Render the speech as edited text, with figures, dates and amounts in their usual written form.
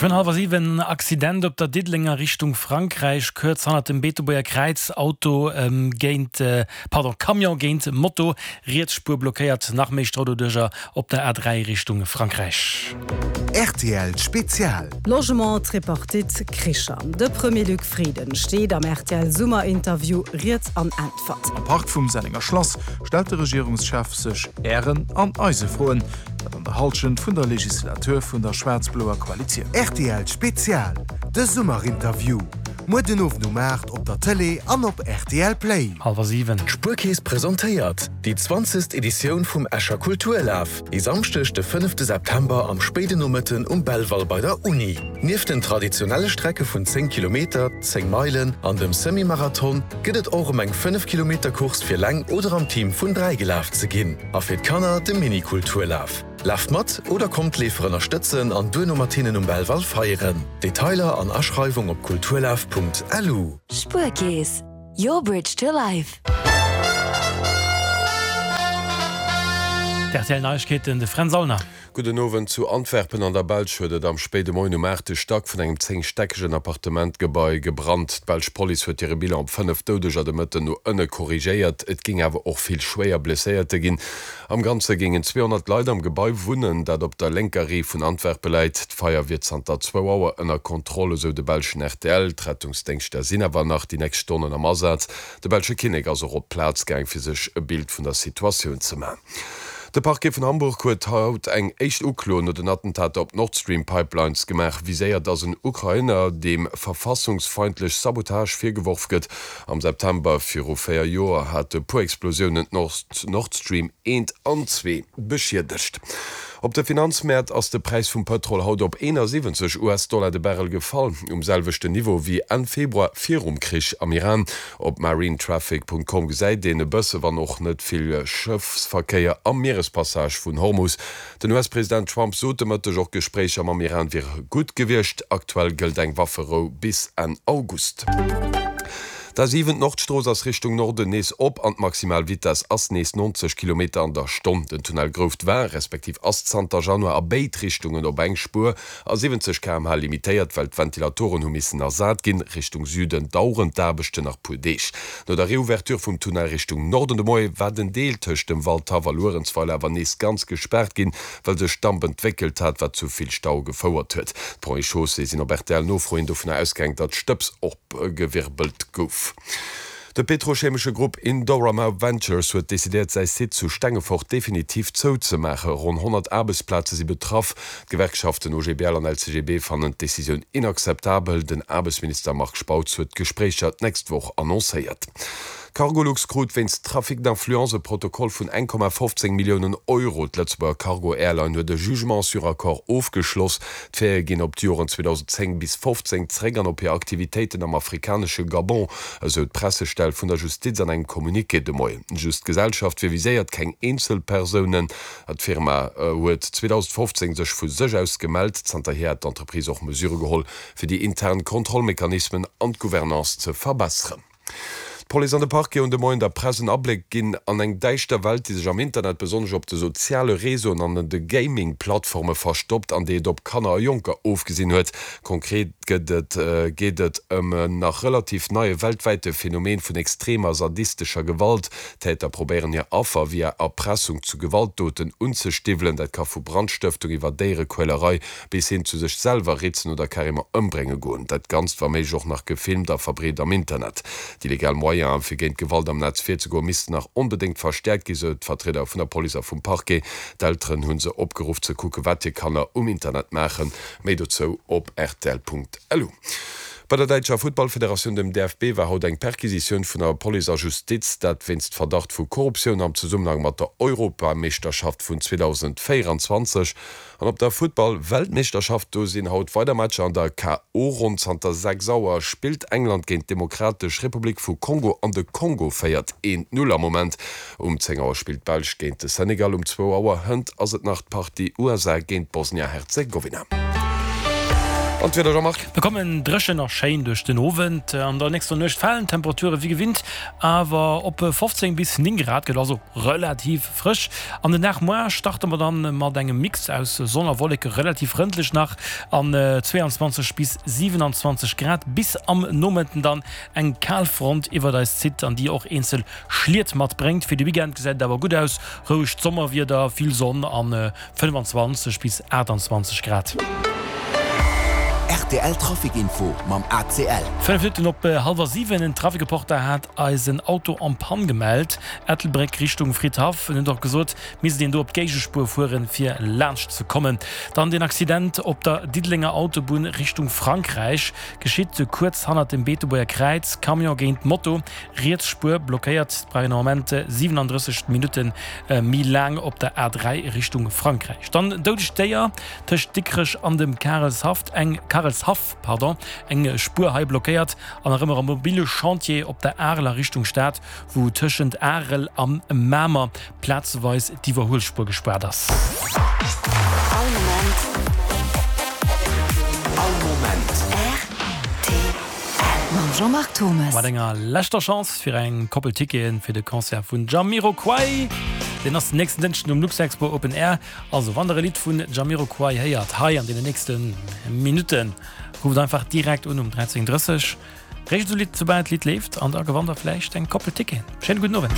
Geschwënn hallwer 7, Accident op der Diddelenger Richtung Frankräich, kuerz hannert dem Beetebuerger Kräiz, Auto géint, pardon, Camion géint Moto, riets Spuer blockéiert, nach méi Stau doduercher op der A3 Richtung Frankräich. Rtl Spezial. Logement, Tripartite, Kricher. De Premier Luc Frieden steet am rtl Summerinterview Rieds an Äntwert. Am Park vum Sennenger Schlass stellt de Regierungschef sech Ären an eise Froen, dat an der Hallschent vun der Legislatur vun der schwaarz-bloer Koalitioun. Rtl Spezial, De Summerinterview, muer den Owend um 8 op der Tëlee an op rtl Play. Hallwer 7. D'Spuerkeess presentéiert déi zwanzegst Editioun vum Escher Kulturlaf, e Samschdeg de fënnefte September am spéiden Nomëtten um Belval bei der Uni. Nieft den traditionelle Strecke vun 10 Kilometer, 10 Meilen an dem Semi-Marathon gëtt et och ëm eng 5 Kilometer Course fir leng oder am Team vun 3 gelaf ze ginn a fir d'Kanner de Mini-Kulturlaf. Laaft mat oder kommt d'Leefer ënnerstëtzen an duerno mat hinnen um Belval feieren. Detailer an Aschreiwung op kulturlaf.lu. Spuerkeess, your bridge to life. D'RTL Neiegkeeten, de Fränz Aulner. Gudden Owend. Zu Antwerpen an der Belsch huet et am spéide Moien um aachte Stack vun engem zéngstäckegen Appartementgebai gebrannt. D'belsch Police huet hire Bilan op 5 Doudeger de Mëtten no ënne korrigéiert. Et géing awer och vill schwéier Blesséierte ginn. Am Ganze géingen 200 Leit am Gebai wunnen, dat op der lénker Rive vun Antwerpe läit. D'Feier wier zanter zwou Auer ënner Kontroll, esou de belschen rtl. D'Rettungsdéngschter sinn awer nach déi nächst Stonnen am Asaz. De belsche Kinnek ass och op d'Plaz gaang, fir sech e Bild vun der Situatioun ze man. De Parquet vun Hamburg huet haut eng éischt Uklo no den Attentater op d'Nord-Stream-Pipelines gemaach. Viséiert ass en Ukrainer, deem verfassungsfeindlech Sabotage virgeworf gëtt. Am September viru 4 Joer hate puer Explosiounen d'Nord Stream eent an zwee beschiedegt. Op de Finanzmäert ass de Präis vum Pëtrol haut op 71 US-Dollar de Barrel gefall, um selwechten Niveau wéi Enn Februar virum Krich am Iran. Op marinetraffic.com gesäit een e bësse, wann och net vill, Schëffsverkéier am Mierespassage vun Hormus. Den US-President Trump sot de Mëtteg, och Gespréicher mam Iran wiere gutt gewiescht. Aktuell gëllt eng Wafferou bis Enn August. D'A7, d'Nordstrooss, ass Richtung Norden nees op an d'maximal Vitess ass nees 90 Kilometer an der Stonn. Den Tunnel Grouft war, respektiv ass zanter Januar a béid Richtungen op eng Spuer a 70 km/h limitéiert, well d'Ventilatoren hu missen ersat ginn. Richtung Süden daueren d'Aarbechten nach puer Deeg. No der Reouverture vum Tunnel Richtung Norden de Moie war den Deel tëscht dem Waldhaff a Luerenzweiler awer nees ganz gespaart ginn, well sech Damp entwéckelt hat, wat zu vill Stau gefouert huet. D'Ponts et Chaussées sinn op RTL-Nofro hin dovunner ausgaang, datt Stëbs opgewirbelt gouf. De petrochemesche Grupp Indorama Ventures huet decidéiert, säi Site zu Stengefort definitiv zouzemaachen. Ronn 100 Aarbechtsplaze si betraff. D'Gewerkschaften OGBL an LCGB fannen d'Decisioun inakzeptabel. Den Aarbechtsminister Marc Spautz huet d'Gespréicher d'nächst Woch annoncéiert. D'Cargolux krut wéinst Trafic d'influence e Protokoll vun 1,15 Milliounen Euro. D'Lëtzebuerger Cargo Airline huet e Jugement sur accord ofgeschloss. D'Faite ginn op d'Joren 2010 bis 15 zréck an op hir Aktivitéiten am afrikanesche Gabon, esou d'Pressestell vun der Justiz an engem Communiqué de Moien. Just d'Gesellschaft wier viséiert, keng Eenzelpersounen. D'Firma huet 2015 sech vu sech aus gemellt. Zanterhier hätt d'Entreprise och Mesure geholl, fir déi intern Kontrollmechanismen an d'Gouvernance ze verbesseren. D'Police an de Parquet hunn de Moien der Press en Abléck ginn an eng däischter Welt, déi sech am Internet, besonnesch op de soziale Réseauen an de Gaming-Plattforme verstoppt an déi et op Kanner a Jonker ofgesinn huet. Konkret gëtt et geet et ëm en nach relativ neie weltwäite Phenomen vun extremer sadistescher Gewalt, D'Täter probéieren hir Affer via Erpressung zu Gewaltdoten unzestiwwelen. Dat ka vu Brandstëftung iwwer Déierequälerei bis hin zu sech selwer ritzen oder carrément ëmbrénge goen. Dat Ganzt wa méiglech och nach gefilmt a verbreet am Internet. Déi legal Moyene fir géint Gewalt am Netz virzegoen, missten nach onbedéngt verstäerkt ginn, sou d'Vertrieder vun der Police a vum Parquet. D'Elteren hu se opgeruff ze kucken, wat hir Kanner um Internet maachen. Méi dozou op rtl.lu. Bei der däitscher Futtballfederatioun, dem DFB, war haut eng Perquisitioun vun der Police a Justiz, dat wéinst Verdacht vu Korruptioun am Zesummenhang mat der Europameeschterschaft vun 2024. An op der Futtball-Weltmeeschterschaft, do sinn haut weider Matcher an der KO-Ronn. Zanter 6 Auer spillt England géint d'Demokratesch Republik vu Kongo an de Kongo féiert 1, 0 am Moment. Um 10 Auer spillt d'Belsch géint de Senegal, um zwou Auer hënt ass et nach d'Partie USA géint Bosnia-Herzegowina. An d'Wieder, Jean-Marc? Mir kommen dréchen a schéin duerch den Owend. An der nächster Nuecht falen d'Temperature wéi gewinnt awer op 15 bis 9 Grad, gëtt also relativ frësch. An den Dag muar starte mer dann mat engem Mix aus Sonn a Wolleke, relativ frëndlech nach an 22 bis 27 Grad, bis am Nomëtten dann eng Kalfront iwwert eis zitt an déi och eenzel Schliet matbréngt. Fir de Weekend gesäit et awer gutt aus, rouegt Sommerwieder, vill Sonn an 25 bis 28 Grad. Rtl Trafic Info mam ACL. 5 Minutten op hallwer 7, En Trafic-Reporter hat eis en Auto en panne gemellt, Ettelbréck Richtung Fridhaff. En huet och gesot, misst een do op d'Géigespuer fueren, fir laanscht ze kommen. Dann den Accident op der Diddelenger Autobunn Richtung Frankräich, geschitt kuerz hannert dem Beetebuerger Kräiz, Camion géint Moto. Riets Spuer blockéiert, brauch een am Moment 37 Minutte méi laang op der A3 Richtung Frankräich. Dann doudegt Déier tëscht Dikrech an dem Karelshaff, eng Karelshaff, pardon, eng Spuer hei blockéiert an nach ëmmer am mobile Chantier op der Arel a Richtung Stad, wou tëschent Arel a Mamer plazeweis d'Iwwerhuelspuer gespaart ass. All Moment. All Moment. Rtl. Mam Jean-Marc Thomes. Mat enger leschter Chance fir eng Koppel Ticketen fir de Concert vun Jamiroquai. Deen ass den nächsten Dënschden um Luxexpo Open Air. Also wann der e Lidd vun Jamiroquai héiert hei an deenen nächste Minutten, rufft einfach direkt un um 13:30. Réischt esou Lidd soubal d'Lidd leeft an da gewannt der vläicht eng Koppel Ticketen. Schéine gudden Owend.